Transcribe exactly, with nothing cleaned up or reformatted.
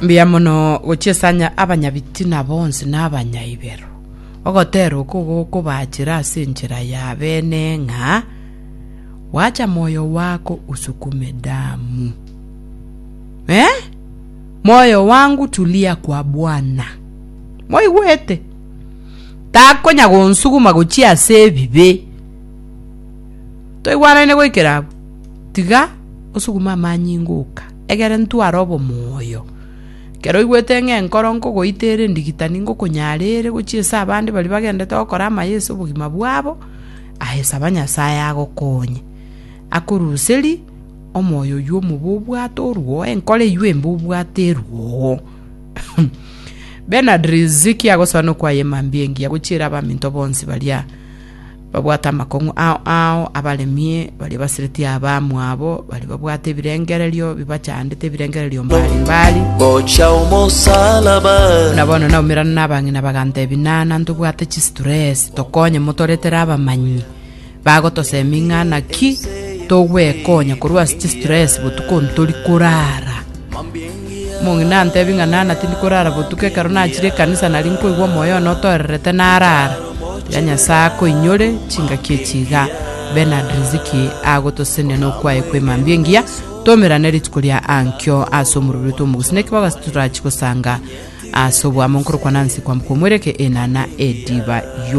Mbuya mono gochiesanya abanyabitina bonsi na abanyaibero. Ogotera oko gokobachera ase enchera ya bene ng'a wacha moyo wako usukume damu. Eh? Moyo wangu tulia kwa Bwana. Moigwete? Takonya gonsuguma gochia ase ebibe. Toigwanaine goikera abwo. Tiga osugume amanyinga oka. Egere ntware obomoyo. Ekero oigwete ng'a enkoro nkogoita ere endigitani ngokonyara ere gochia ase abande baria bagendete gokora amaya ase obogima bwabo, aye saba Nyasaye agokonye. Akoruseri omoyo oywo omobe obwate orwoo, enkoro eywo embe obwate erwoo. Bernard Riziki agosoa nokwaye emambia engiya gochiera abaminto bonsi baria babwate amakong'u ao ao abaremie baria basiretie abamwabo baria babwate ebirengererio bibachandete ebirengererio mbali mbali Gocha omosalaba buna bono naumerana na abang'ina bagantebi nana ntobwate chistress tokonye motoretere abamanyi bagotosemi ng'a naki togwekonya korwa ase chistress botuko ntori korara omong'ina antebi ng'a nana tindi korara botuko ekero nachire ekanisa nari nkoigwa omoyo one otoererete narara tiga nyasaye akoinyore chingaki echi iga Bernard Riziki agotosenia nokwaye kwa emambia engiya tomerane rituko ria ankio ase omorobio oito omogusi neki bagasi turachi gosanga ase obwamo nkorokwa Nancy Kwamboka omwereke enana ediba yo.